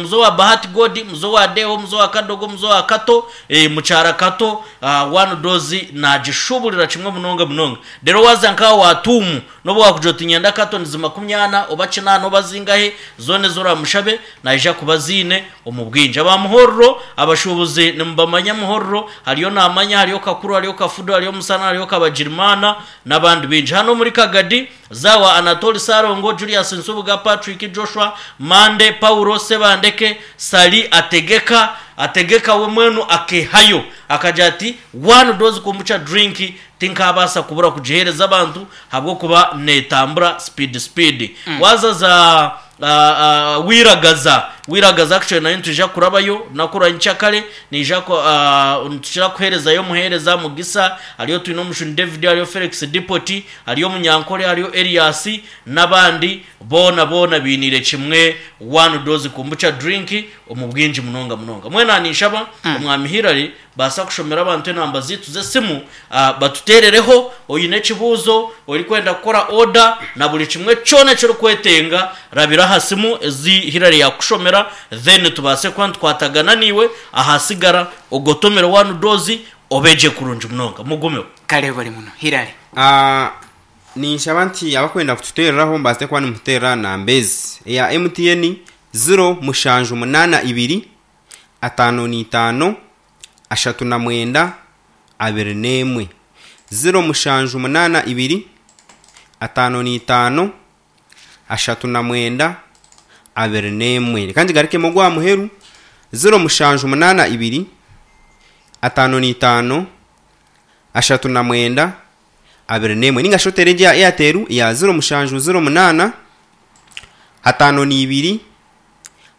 Muzo wa Bahati God, muzo wa Deo, muzo wa Kadogo, muzo wa Kato, eh, mukyara Kato, ah, one dose nagishuburira kimwe munonga munonga. Rero waza nkaha wa Tuumu, nobu wakugira oti nyenda cartons makumyana oba kinaana oba zingahe, zoona ezi oramushabe naija kuba aziine omu bwingi. Aba Muhorro, abashuubuzi nimubamanya Muhorro, hariyo Namanya, hariyo Kakuru, hariyo Kafudu, hariyo Musana, hariyo Kabagirimaana n'abandi baingi. Hanu omuri Kagadi, Zawa, Anatoli Ssalongo, Julius Nsubuga, Patrick Joshua, Mande, Paulo Ssebandeke, Ssali Ategeka, Ategeka we mwenu akehayo akagira ati, One dose kombucha drink tinkaabaasa kubura kugiheereza abantu habw'okuba neetambura speed speed. Waaza za Wiragaza, Wiragaza actually nayo nitwija kurabayo orunaku rwa nyenkyakare, Naija ku, nitukira kuheerezayo omuheereza Mugisa, hariyo Twinomushuni David, hariyo Felix Dipoti, hariyo Omunyankore, hariyo Elias, n'abandi, boona boona bainiire kimwe one dose kombucha drink omu bwingi munonga munonga. Mbwenu aha ninshaba Omwami Hillary baasa kushomera abantu enamba zaitu z'esimu, batuteerereho oine ekibuuzo, orikwenda kukora order, na buri kimwe kyona eki orikwetenga, rabira aha simu ezi Hillary yaakushomera then tubaase kuba nitukwatagana naiwe, ahasigara ogotomere one dose obe gye kurungi munonga. Mugumeho. Kare buri muno. Hillary. Ninshaba nti abakwenda kututeereraho mubaase kuba nimututeerera aha namba ezi, eya MTN ziro mushanju munaana ibiri, 55, 39, 21. 0782, 55, 39, 21. Reka ngigarukemu ogw'aha muheru, 0782, 55, 39, 21. Ninga shi oteere egyo eya Airtel eya 0708, 52,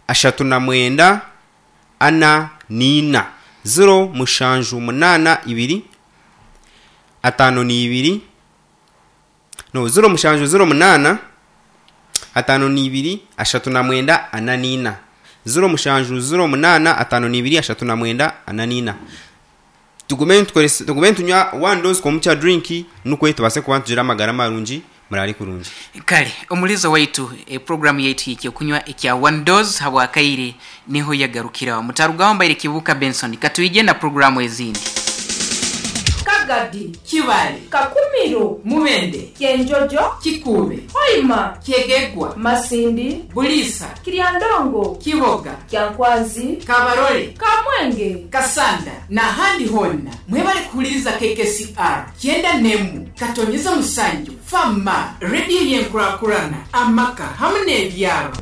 39, ana n'ina, ziro mushanju munaana ibiri, ataano n'ibiri, no, 0708, 52, 39, 44, 0708, 52, 39, 44. Tugume nitukoresa, tugume nitunywa one dose komukya drink nukwe tubaase kuba nitugira amagara marungi. Muraare kurungi. Kale omulizo waitu e program yaitu y'ekyokunywa ekya One Dose habwakaire niho yagarukiraho. Mutarugaho mbaire Kibuuka Benson katwije na program ezindi. Kagadi, Kibaale, Kakumiro, Mubende, Kyenjojo, Kikuube, Hoima, Kyegegwa, Masindi, Buliisa, Kiryandongo, Kiboga, Kyankwanzi, Kabarole, Kamwenge, Kasanda n'ahandi hoona. Mwebale kuhuliriza KKCR kyenda n'emwe katonyeza musanju, Fama, rediyo y'enkurakurana, amaka hamu n'ebyaro.